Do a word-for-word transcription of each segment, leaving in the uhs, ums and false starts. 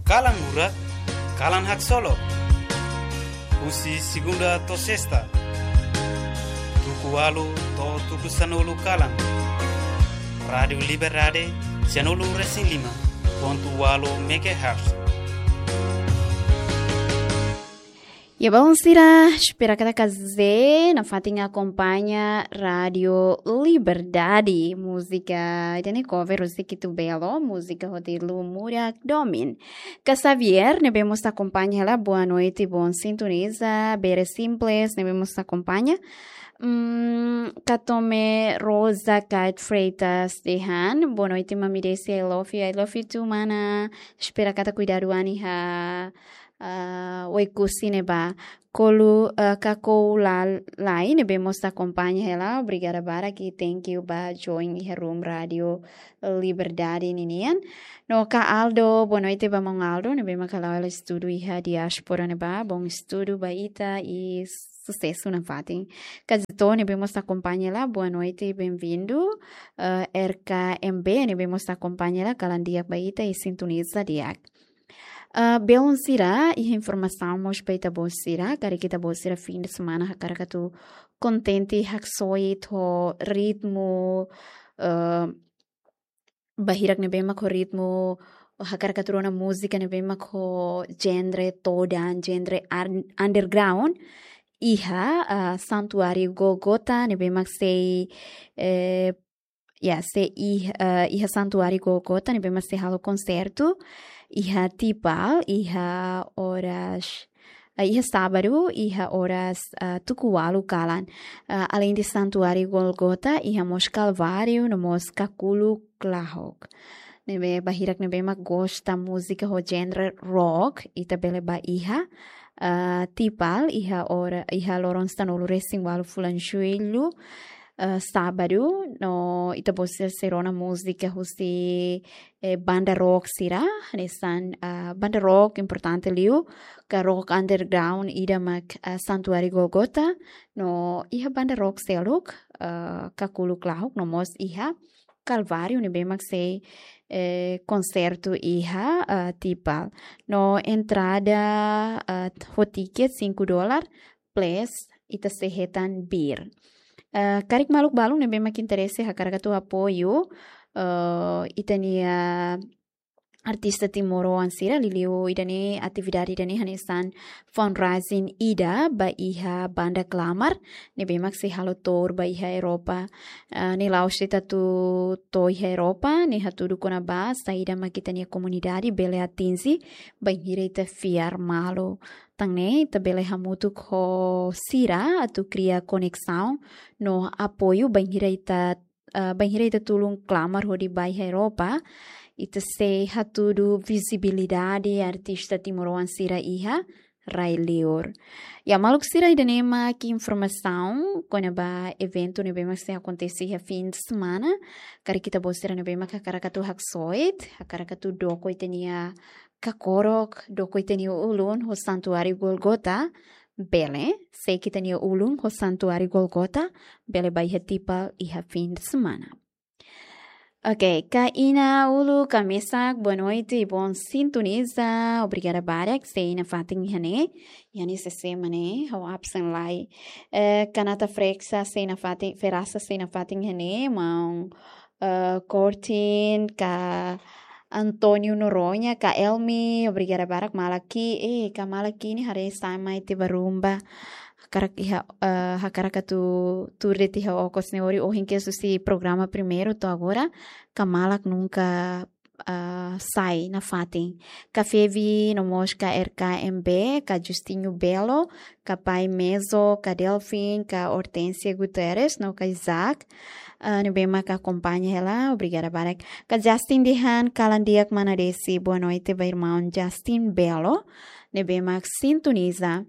Kalan Lurak, Kalan Haksolok. Husi segunda to'o sesta, tuku ualu to'o tuku sanulu kalan. Rádiu Liberdade, sanulu resin lima pontu ualu megahertz. Ya, balu sira, espera katak kazé nafatin akompaña Rádiu Liberdade. Múzika, ida-ne'e cover husi Kitu Belo, múzika hotu Lu Murak Domin. Ka Xavier, ne'ebé mós akompaña hela, boa noite, bom sintoniza, Bere Simples, ne'ebé mós akompaña. Hmm, Katome Rosa Kate Freitas dehan, boa noite, Mami Desi, I love you, I love you too, mana. Espera katak kuidadu an iha, ah, Oekusi ne'ebá. Kolu, ah, Kakou Lalai, ne'ebé mós akompaña hela, obrigada barak, thank you ba join iha room Rádiu Liberdade ninian. No ka Aldo, boa noite ba maun Aldo, ne'ebé mak hala'o hela estudu iha diáspora ne'ebá, bom estudu ba ita i susesu nafatin. Ka Zito, ne'ebé mós akompaña hela, boa noite, bem-vindo. Ah, R K M B, ne'ebé mós akompaña hela, kalan di'ak ba ita i sintoniza di'ak. Ah, belun sira, iha informasaun mós ba ita-boot sira, karik ita-boot sira fim de semana hakarak atu kontente haksoit ho ritmu, ah, bahirak ne'ebé mak ho ritmu, hakarak atu rona múzika ne'ebé mak ho genre todan, genre ar-, underground, iha, ah, Santuáriu Gólgota, ne'ebé mak sei, eh, ya, sei ih-, eh, iha Santuáriu Gólgota, ne'ebé mak sei halo konsertu, iha Tipal, iha oras, eh, iha sábadu, iha oras, eh, tuku ualu kalan. Eh, além de Santuáriu Gólgota, iha mós Kalváriu, no mós Kakuluk Lahok. Ne'ebé bahirak ne'ebé mak gosta múzika ho genre rock, ita bele bá iha, eh, Tipal, iha ora, iha loron sanulu resin ualu fulan Jullu, eh, sábadu, no ita-boot sira sei rona múzika husi, eh, banda rock sira, hanesan, ah, banda rock importante liu, ka rock underground ida mak, ah, Santuáriu Gólgota, no iha banda rock seluk, ah, Kakuluk Lahok, no mós iha Kalváriu, ne'ebé mak sei, eh, konsertu iha, ah, Tipal. No entrada, ah, ho tiket cinco dólar, plus ita sei hetan bir. Eh, karik maluk balun ne'ebé mak interese hakarak atu apoiu, eh, ita-nia artista timoroan sira, liuliu ida-ne'e, atividade ida-ne'e hanesan fundraising ida ba iha banda Klamar, ne'ebé mak sei halo tour ba iha Europa. Eh, ne'e la'ós de'it atu to'o iha Europa, ne'e hatudu kona-ba saida mak ita-nia komunidade bele atinje bainhira ita fiar malu. Tan ne'e ita bele hamutuk ho sira atu kria koneksaun no apoiu bainhira ita, eh, bainhira ita tulun Klamar hodi bá iha Europa, ita sei hatudu vizibilidade artista timoroan sira iha rai-liur. Ya, maluk sira, ida-ne'e mak informasaun kona-ba eventu ne'ebé mak sei akontese iha fim de semana. Karik ita-boot sira ne'ebé mak hakarak atu haksoit, hakarak atu doko ita-nia kakorok, doko ita-nia ulun ho Santuáriu Gólgota, bele, sei ita-nia ulun ho Santuáriu Gólgota, bele bá iha Tipal iha fim de semana. Ok, ka Ina Ulu, ka mesak, boa noite, bom sintoniza, obrigada barak, sei nafatin iha ne'e, iha ne'e C C mak ne'e, ha'u absen lai. Eh, ka Nata Frexa, sei nafatin, Ferasa, sei nafatin iha ne'e, maun, eh, Cortin, ka António Noronha, ka Elmi, obrigada barak, malak ki'ik, eh, ka malak ki'ik ne'e haree sai mai tiha ba rumba. Hakarak iha, eh, hakarak atu tuur de'it iha okos ne'e, hori ohin kedas husi programa primeiru to'o agora, ka malak nunka, eh, sai nafatin. Ka Fevi, no mós ka R K M B, ka Justinho Belo, ka Pai Mezo, ka Delfin, ka Hortência Guterres, no ka Isaac, eh, ne'ebé mak akompaña hela, obrigada barak. Ka Justin dehan, kalan di'ak mana Desi, boa noite ba irmaun Justin Belo, ne'ebé mak sintoniza.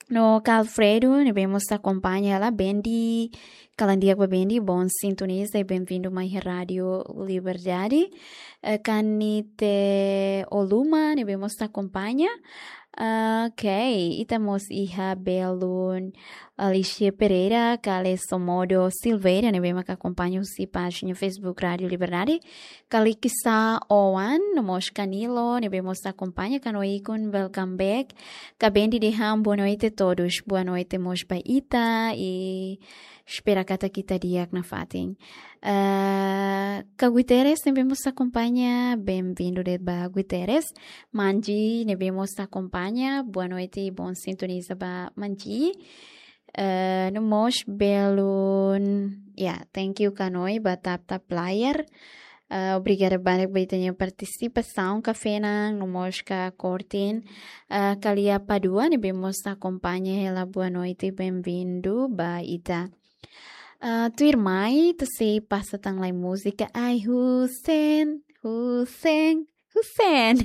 No ka Alfredo, ne'ebé mós akompaña hela, Bendi, kalan di'ak ba Bendi, bom sintoniza i bem-vindo mai iha Rádiu Liberdade. Eh, ka Nite Oluma, ne'ebé mós akompaña. Ok, ita mós iha belun Alicia Pereira, Kale Somodo Silveira, ne'ebé mak akompaña husi pájina Facebook Rádio Liberdade. Kale Kisa Oan, no mós Kanilo, ne'ebé mós akompaña, kanoe ikun, welcome back. Kabendi dehan boa noite todos, boa noite mós ba ita, i espera katak ita di'ak nafatin. Eh, Ka Guterres, ne'ebé mós akompaña, bem-vindo de'it ba Guterres. Manji, ne'ebé mós akompaña, boa noite, bom sintoniza ba Manji. Eh, no mós belun, ya, thank you kanoe ba tap tap layar. Eh, obrigada barak ba ita-nia partisipasaun, Kafena, no mós Ka Kortin. Eh, Kalia Padua, ne'ebé mós akompaña hela, boa noite, bem-vindo ba ita. Ah, tuirmai, ita sei pasa tan lai múzika. Ai, Hussein, Hussein, Hussein.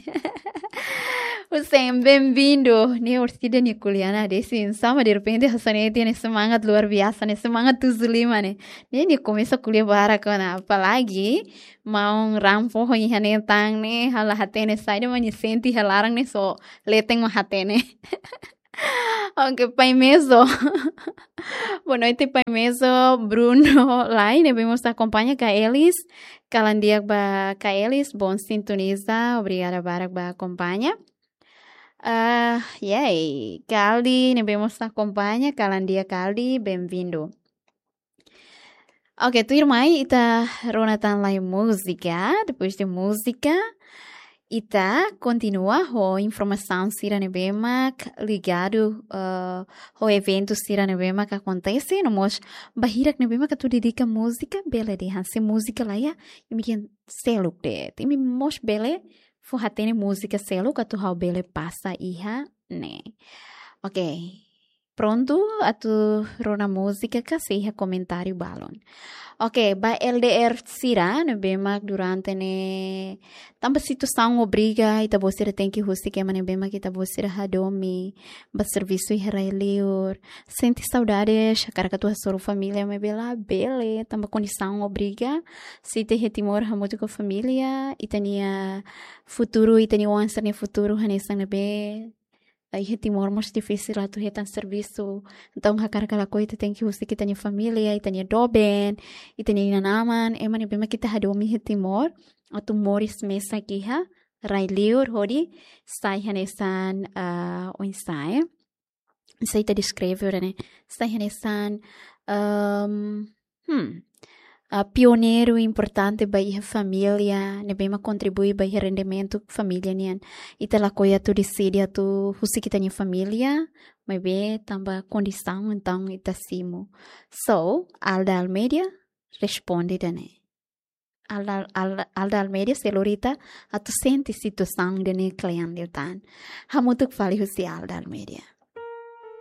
Hussein, bem-vindo. Ne'e orsida nia ko'alia ona de'it, oinsá mak derrepente hanesan ne'e, nia semangat luar biasa, nia semangat tujuh lima ne'e. Ne'e nia komesa ko'alia barak ona, apalagi maun raan foho iha ne'e tan ne'e, ha'u la hatene saida mak nia sente iha laran ne'e, só leten mak hatene. Ok, Pai Mezo. Boa noite, Pai Mezo. Bruno Lai, ne'ebé mós akompaña, Ka Elis. Kalan di'ak ba Ka Elis, bom sintoniza. Obrigada barak ba akompaña. Ah, yay. Kaldi, ne'ebé mós akompaña, kalan di'ak Kaldi, bem-vindo. Ok, tuirmai, ita rona tan lai múzika. Depois de múzika, ita kontinua ho informasaun sira ne'ebé mak ligadu, eh, ho eventu sira ne'ebé mak akontese, no mós ba hirak ne'ebé mak atu dedika múzika, bele dehan se múzika la iha, imi dehan seluk de'it. Imi mós bele fó hatene múzika seluk atu ha'u bele pasa iha ne'e. Ok. Prontu atu rona múzika ka sei iha komentáriu balun. Ok, ba L D R sira ne'ebé mak durante ne'e tanba situasaun obriga, ita-boot sira tenke husik ema ne'ebé mak ita-boot sira hadomi, ba servisu iha rai-liur. Sente saudades, hakarak atu hasoru família, maibé labele, tanba kondisaun obriga. Se ita iha Timor hamutuk ho família, ita-nia futuru, ita-nia oan sira-nia futuru hanesan ne'ebé. Iha Timor mós difisil atu hetan servisu. Entaun, hakarak ka lakohi, ita tenke husik ita-nia família, ita-nia doben, ita-nia inan-aman, ema ne'ebé mak ita hadomi iha Timor, atu moris mesak iha rai-liur hodi sai hanesan, ah, oinsá, eh? Sai, ita deskreve, ora, ne'e? Sai hanesan, ehm, hmm, ah, pioneiru importante ba iha família, ne'ebé mak kontribui ba iha rendimentu família nian. Ita lakohi atu deside atu husik ita-nia família, maibé tanba kondisaun, entaun ita simu. So, Alda Almeida responde ida-ne'e. Alda, Alda, Alda Almeida sei lori ita atu sente situasaun ida-ne'e kle'an liután. Hamutuk fali husi Alda Almeida.